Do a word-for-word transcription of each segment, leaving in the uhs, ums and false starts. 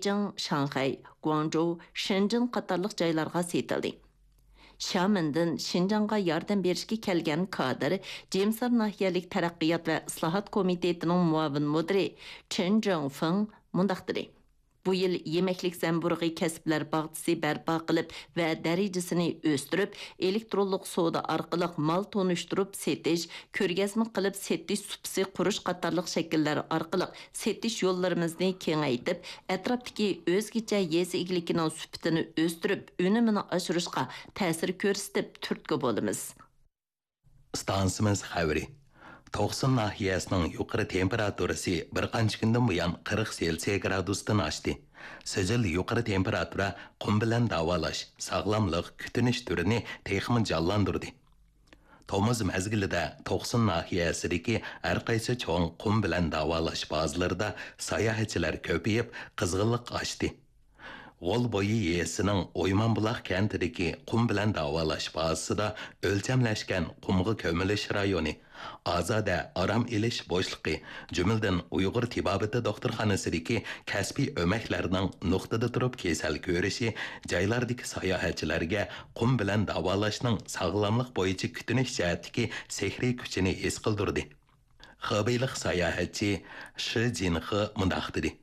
بېيجىڭ، شاڭخەي، گۇاڭجۇ، شېنجېن قاتارلىق جايلارغا سېتىلدى. شيامېندىن شىنجاڭغا ياردەم بېرىشكە كەلگەن كادىر جىمسار ناھىيەلىك تەرەققىيات ۋە ئىسلاھات كومىتېتىنىڭ مۇئاۋىن مۇدىرى چېن جېڭفېڭ مۇنداق دېدى: بۇ يىل يېمەكلىك زەمبۇرۇغى كەسىپلەر باغچىسى بەرپا قىلىپ ۋە دەرىجىسىنى ئۆستۈرۈپ، ئېلېكترونلۇق سودا ئارقىلىق مال تونۇشتۇرۇپ سېتىش، كۆرگەزمە قىلىپ سېتىش سۇپىسى قۇرۇش قاتارلىق شەكىللەر ئارقىلىق سېتىش يوللىرىمىزنى كېڭەيتىپ، ئەتراپتىكى ئۆزگىچە يېزا ئىگىلىكىنىڭ سۈپىتىنى ئۆستۈرۈپ، ئۈنۈمىنى ئاشۇرۇشقا تەسىر كۆرسىتىپ تۈرتكە بولىمىز. ئىستانسىمىز خەۋىرى. توقسۇن ناھىيەسىنىڭ يۇقىرى تېمپېراتۇرىسى بىر قانچە كۈندىن بۇيان قىرىق سېلسىيە گرادۇستىن ئاشتى. سىجىل يۇقىرى تېمپېراتۇرا قۇم بىلەن داۋالاش، ساغلاملىق، كۈتۈنۈش تۈرىنى تېخىمۇ جانلاندۇردى. تومۇز مەزگىلىدە توقسۇن ناھىيەسىدىكى ھەرقايسى چوڭ قۇم بىلەن داۋالاش بازىلىرىدا ساياھەتچىلەر كۆپىيىپ، قىزغىنلىق ئاشتى. غول بويى يېزىسىنىڭ ئويمانبۇلاق كەنتىدىكى قۇم بىلەن داۋالاش بازىسىدا ئۆلچەملەشكەن قۇمغا كۆمۈلۈش رايونى، ئازادە ئارام ئېلىش بوشلۇقى، جۈملىدىن ئۇيغۇر تېبابىتى دوختۇرخانىسىدىكى كەسپىي ئۆمەكلەرنىڭ نۇقتىدا تۇرۇپ كېسەل كۆرۈشى جايلاردىكى ساياھەتچىلەرگە قۇم بىلەن داۋالاشنىڭ ساغلاملىق بويىچە كۈتۈنۈش جەھەتتىكى سېھرىي كۈچىنى ھېس قىلدۇردى. خېبېيلىق ساياھەتچى شى جىنخې مۇنداق دېدى: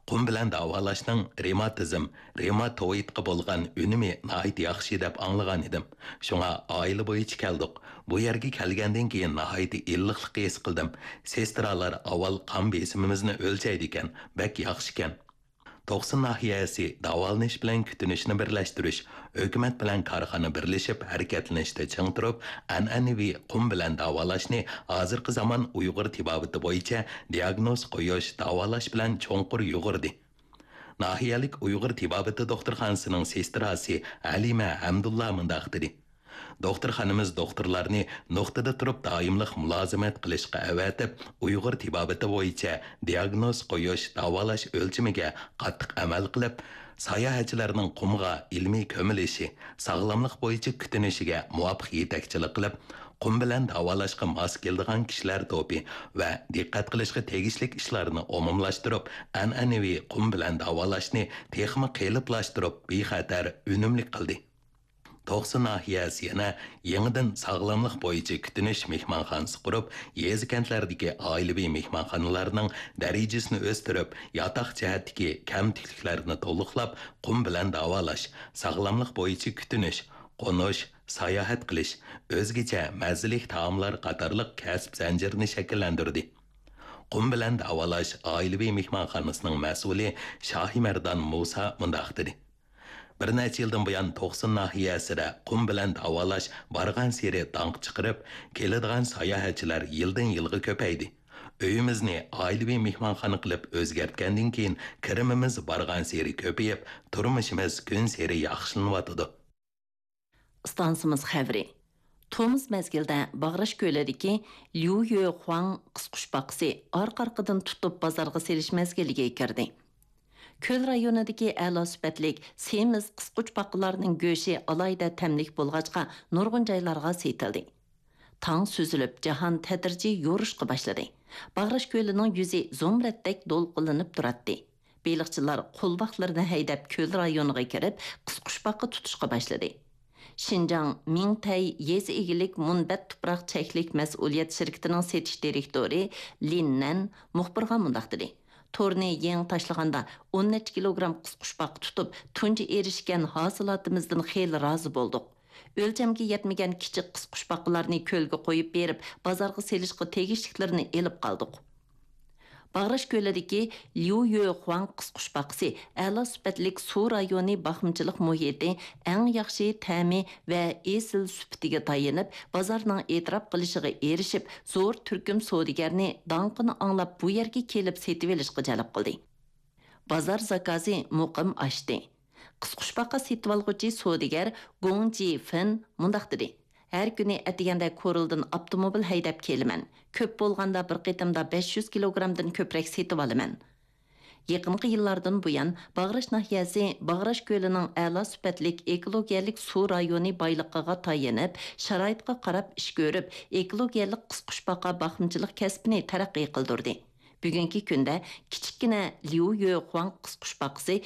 قۇم بىلەن داۋالاشنىڭ رېماتىزم، رېماتوئىدقا بولغان ئۈنۈمى ناھايىتى ياخشى دەپ ئاڭلىغان ئىدىم. شۇڭا ئائىلە بويىچە كەلدۇق. بۇ يەرگە كەلگەندىن كېيىن ناھايىتى ئىللىقلىق ھېس قىلدىم. سېسترالار ئاۋۋال قان بېسىمىمىزنى ئۆلچەيدىكەن، بەك ياخشىكەن. توقسۇن ناھىيەسى داۋالىنىش بىلەن كۈتۈنۈشنى بىرلەشتۈرۈش، ھۆكۈمەت بىلەن كارخانا بىرلىشىپ ھەرىكەتلىنىشتە چىڭ تۇرۇپ، ئەنئەنىۋى قۇم بىلەن داۋالاشنى ھازىرقى زامان ئۇيغۇر تېبابىتى بويىچە دىئاگنوز قويۇش، داۋالاش بىلەن چوڭقۇر يۇغۇردى. ناھىيەلىك ئۇيغۇر تېبابىتى دوختۇرخانىسىنىڭ سېستراسى ھەلىمە ھەمدۇللا مۇنداق دېدى: دوختۇرخانىمىز دوختۇرلارنى نۇقتىدا تۇرۇپ دائىملىق مۇلازىمەت قىلىشقا ئەۋەتىپ، ئۇيغۇر تېبابىتى بويىچە دىئاگنوز قويۇش، داۋالاش ئۆلچىمىگە قاتتىق ئەمەل قىلىپ، ساياھەتچىلەرنىڭ قۇمغا ئىلمىي كۆمۈلۈشى، ساغلاملىق بويىچە كۈتۈنۈشىگە مۇۋاپىق يېتەكچىلىك قىلىپ، قۇم بىلەن داۋالاشقا ماس كېلىدىغان كىشىلەر توپى ۋە دىققەت قىلىشقا تېگىشلىك ئىشلارنى ئومۇملاشتۇرۇپ، ئەنئەنىۋى قۇم بىلەن داۋالاشنى تېخىمۇ قېلىپلاشتۇرۇپ، بىخەتەر، ئۈنۈملۈك قىلدى. توقسۇن ناھىيەسى يەنە يېڭىدىن ساغلاملىق بويىچە كۈتۈنۈش مېھمانخانىسى قۇرۇپ، يېزا، كەنتلەردىكى ئائىلىۋى مېھمانخانىلارنىڭ دەرىجىسىنى ئۆستۈرۈپ، ياتاق جەھەتتىكى كەمتۈكلۈكلەرنى تولۇقلاپ، قۇم بىلەن داۋالاش، ساغلاملىق بويىچە كۈتۈنۈش، قونۇش، ساياھەت قىلىش، ئۆزگىچە مەززىلىك تائاملار قاتارلىق كەسىپ زەنجىرىنى شەكىللەندۈردى. قۇم بىلەن داۋالاش ئائىلىۋى مېھمانخانىسىنىڭ مەسئۇلى شاھىمەردان مۇسا مۇنداق دېدى: بىر نەچچە يىلدىن بۇيان توقسۇن ناھىيەسىدە قۇم بىلەن داۋالاش بارغانسېرى داڭقى چىقىرىپ، كېلىدىغان ساياھەتچىلەر يىلدىن-يىلغا كۆپەيدى. ئۆيىمىزنى ئائىلىۋى مېھمانخانا قىلىپ ئۆزگەرتكەندىن كېيىن، كىرىمىمىز بارغانسېرى كۆپىيىپ، تۇرمۇشىمىز كۈنسېرى ياخشىلىنىۋاتىدۇ. ئىستانسىمىز خەۋىرى. تومۇز مەزگىلدە باغراش كۆلىدىكى ليۇيۆخۇاڭ قىسقۇچپاقىسى ئارقا-ئارقىدىن تۇتۇپ بازارغا سېلىش مەزگىلىگە كىردى. كۆل رايونىدىكى ئەلا سۈپەتلىك سېمىز قىسقۇچپاقىلارنىڭ گۆشى ئالاھىدە تەملىك بولغاچقا، نۇرغۇن جايلارغا سېتىلدى. تاڭ سۈزۈلۈپ، جاھان تەدرىجىي يورۇشقا باشلىدى. باغراش كۆلىنىڭ يۈزى زۇمرەتتەك دولقۇنلىنىپ تۇراتتى. بېلىقچىلار قولۋاقلىرىنى ھەيدەپ، كۆل رايونىغا كىرىپ، قىسقۇچپاقا تۇتۇشقا باشلىدى. شىنجاڭ مىڭتەي يېزا ئىگىلىك مۇنبەت تۇپراق چەكلىك مەسئۇلىيەت شىركىتىنىڭ سېتىش دىرېكتورى لىن نەن مۇخبىرغا مۇنداق دېدى: تورنى يېڭى تاشلىغاندا، ئون نەچچە كىلوگرام قىسقۇچپاقا تۇتۇپ، تۇنجى ئېرىشكەن ھاسىلاتىمىزدىن خېلى رازى بولدۇق. ئۆلچەمگە يەتمىگەن كىچىك قىسقۇچپاقىلارنى كۆلگە قويۇپ بېرىپ، بازارغا سېلىشقا تېگىشلىكلىرىنى ئېلىپ قالدۇق. باغراش كۆلىدىكى ليۇيۆخۇاڭ قىسقۇچپاقىسى ئەلا سۈپەتلىك سۇ رايونى باقمىچىلىق مۇھىتى، ئەڭ ياخشى تەمى ۋە ئېسىل سۈپىتىگە تايىنىپ، بازارنىڭ ئېتىراپ قىلىشىغا ئېرىشىپ، زور تۈركۈم سودىگەرنى داڭقىنى ئاڭلاپ بۇ يەرگە كېلىپ سېتىۋېلىشقا جەلپ قىلدى. بازار زاكازى مۇقىم ئاشتى. قىسقۇچپاقا سېتىۋالغۇچى سودىگەر گوڭ جىفېن مۇنداق دېدى: ھەر كۈنى ئەتىگەندە كورلىدىن ئاپتوموبىل ھەيدەپ كېلىمەن. كۆپ بولغاندا بىر قېتىمدا بەش يۈز كىلوگرامدىن كۆپرەك سېتىۋالىمەن. يېقىنقى يىللاردىن بۇيان، باغراش ناھىيەسى باغراش كۆلىنىڭ ئەلا سۈپەتلىك ئېكولوگىيەلىك سۇ رايونى بايلىقىغا تايىنىپ، شارائىتقا قاراپ ئىش كۆرۈپ، ئېكولوگىيەلىك قىسقۇچپاقا باقمىچىلىق كەسپىنى تەرەققىي قىلدۇردى. بۈگۈنكى كۈندە كىچىككىنە ليۇ يۆخۇاڭ قىسقۇچ باغقىسى